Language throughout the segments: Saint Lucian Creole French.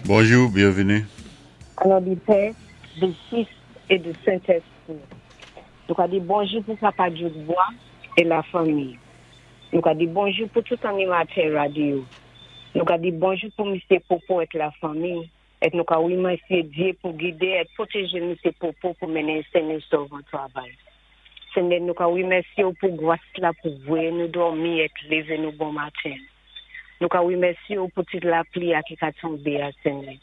Bonjou, byenvini. O non di Pè, di Fis é di Sentèspri. Nou ka di bonjou pou Papa Djoukbwa é la fanmi. Nou ka di bonjou pou tout animatè radyo. Nou ka di bonjou pou Misye Popo et la fanmi et nou ka wimèsyé Dye pou gidé et pwotéjé Misye Popo pou mennen sen é sov an travay. Senyè nou ka wimèsye w pou gwas la pou voyé nou dòmi et lévé nou bon maten. Nou ka wimèsye w pou ti lapli a ki ka tonbé a Senyè.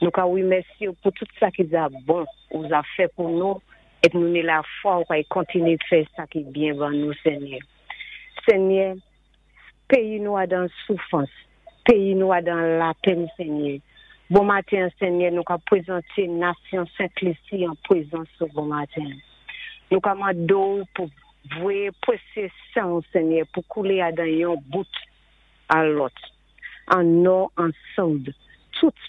Nou ka wimèsye w pou tout sa ki za bon ou za fè pou nou et nou ni lafwa ou kay kontiné fè sa ki byen ban nou Senyè. Senyè, peyi nou a dan soufans, peyi nou a dan lapenn Senyè. Bon maten an Senyè nou ka pwezanté nasyon Sent Lisi an pwezans ou bon maten. Nou ka mandé w pou voyé pwesye sanw Senyè pou koulé a dan yon bout a lòt, an nò, an soud, tout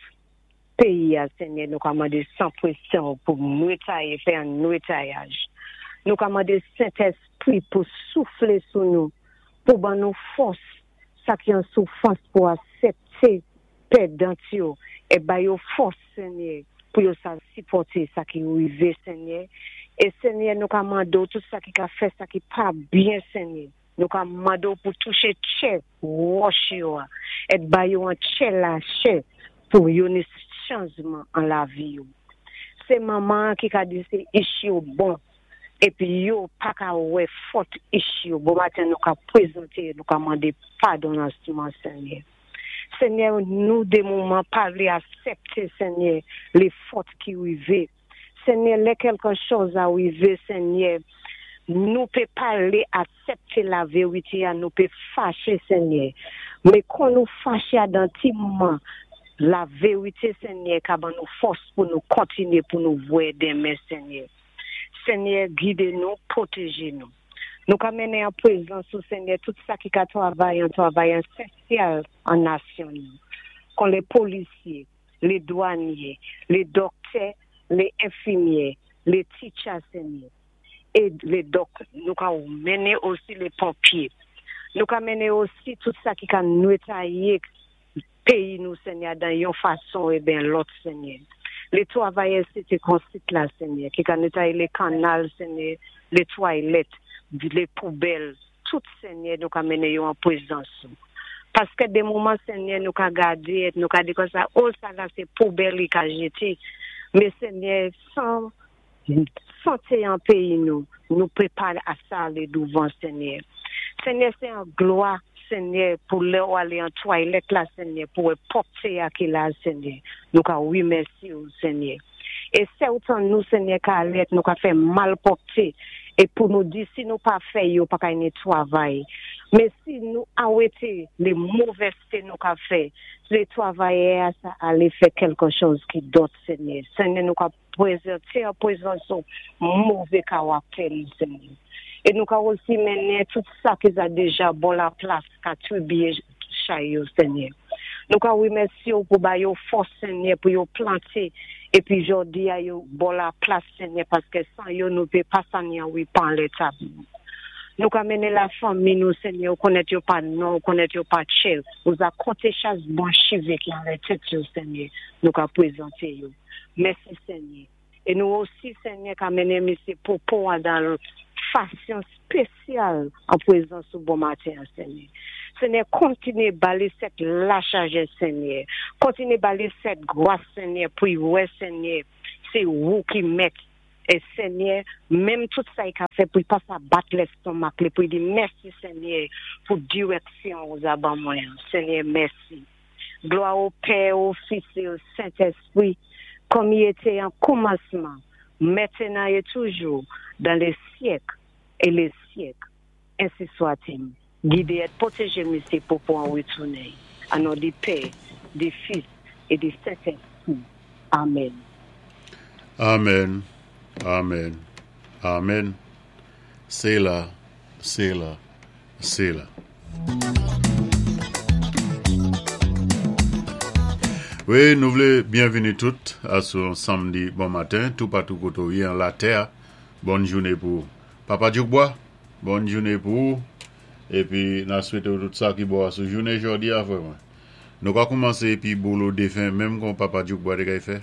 peyi a Senyè nou ka mande 100 presyon pou nwetaye fè an nwetayaj. Nou ka mande Sentèspri pou souflé sou nou, pou ban nou fòs, sa ki an soufans pou asèpté pèdant yo é ba yo fòs Senyè pou yo sa sipòté sa ki rivé Senyè. É Senyè nou ka mande w tout sa ki ka fè sa ki pa byen Senyè. Nou ka mande w pou touché tchè wòch yo a et ba yo an tchè lachè pou yo ni chanjman an lavi yo. Sé manman an ki ka di sé ich yo bon épi yo pa ka wè fòt ich yo. Bon maten nou ka pwézanté nou ka mandé padon lansman Senyè. Senyè nou de moman pa vlé asèpté Senyè lé fòt ki rivé. Senyè lè kèlkè chòz a rivé Senyè nou pé palé asèpté la vérité a nou pé faché Senyè. Mé kon nou faché a dan ti moman la vérité Senyè ka ban nou fòs pou nou kontinyé pou nou vwé denmen Senyè. Senyè gidé nou, pwotéjé nou. Nou ka mennen an pwézans ou Senyè tout sa ki ka travay an travay ésansyèl an nasyon nou. Kon lé polisyé, lé dwanyé, lé dòktè, lé enfimyè, lé titcha Senyè. É lé dòk nou ka mennen osi lé ponpyé. Nou ka mennen osi tout sa ki ka nwetayé péyi nou Senyè dan yon fason é ben lòt Senyè. Lé twavayè Sité Konsit la Senyè, ki ka nwetayé lé kannal Senyè, lé twalèt, lé poubèl, tout Senyè nou ka mennen yo an pwézans ou. Paskè de moman Senyè nou ka gadé, nou ka di konsa, oh sa la sé poubèl li ka jété. Mé Senyè, santé an péyi nou, nou pé pa a sa alé douvan Senyè. Senyè sé an glwa Senyè pou lè ou alé an twalèt la Senyè, pou wè pwòpté a ki la Senyè. Nou ka wimèsye ou Senyè. É sètan nou Senyè ka alé nou ka fè malpwòpté é pou nou di si nou pa fè yo pa ka ni twavay. Mé si nou awété lé movèzté nou ka fè, lé twavayè a sa alé fè kèlkè chòz ki dòt Senyè. Senyè nou ka pwézanté an pwézans ou mové kawaktè nou Senyè. É nou ka osi mennen tout sa ki za déja bò la plas ka tribyé chay yo Senyè. Nou ka wimèsyé ou pou ba yo fòs Senyè pou yo planté épi jòdi a yo bò la plas Senyè paskè san yo nou pé pa sa ni an wipan lè tab nou. Nou ka mennen la fanmi nou Senyè ou konnèt yo pa non, ou konnèt yo pa tchè, ou za konté chas bon chivé ki anlè tèt yo Senyè, nou ka pwézanté yo. Mèsi Senyè. É nou osi Senyè ka mennen Misye Popo a dan fasyon spésyal an pwézans ou bon maten an Senyè. Senyè kontinyé ba li sèt lachajès Senyè. Kontinyé ba li sèt gwas Senyè pou y wè Senyè sé ou ki mèt. É Senyè, menm tout sa y ka fè pou y pa sa bat lèstonmak li pou y di mèsi Senyè pou dirèksyon ou za ban mwen. Senyè, mèsi. Glwa o Pè, o Fis é o Sentèspri, kòm y été an koumansman, mentenan é toujou, dan lé syèk é lé syèk. Ensi swa-t-il. Gidé et pwotéjé Misye Popo an witounen. An non di Pè, di Fis é di Sentèspri. Amen. Amen, amen, amen. Séla, séla, séla. Wi, nou vlé byenvini tout a sou yon samdi bon maten, toupatou koté ou yé an latè. Bòn jouné pou ou. Papa Djoukbwa, bòn jouné pou ou. Épi, na swété ou tout sa ki bon a sou jouné jòdi a frè mwen. Nou ka koumansé épi bolo défen menm kon Papa Djoukbois té kay fè.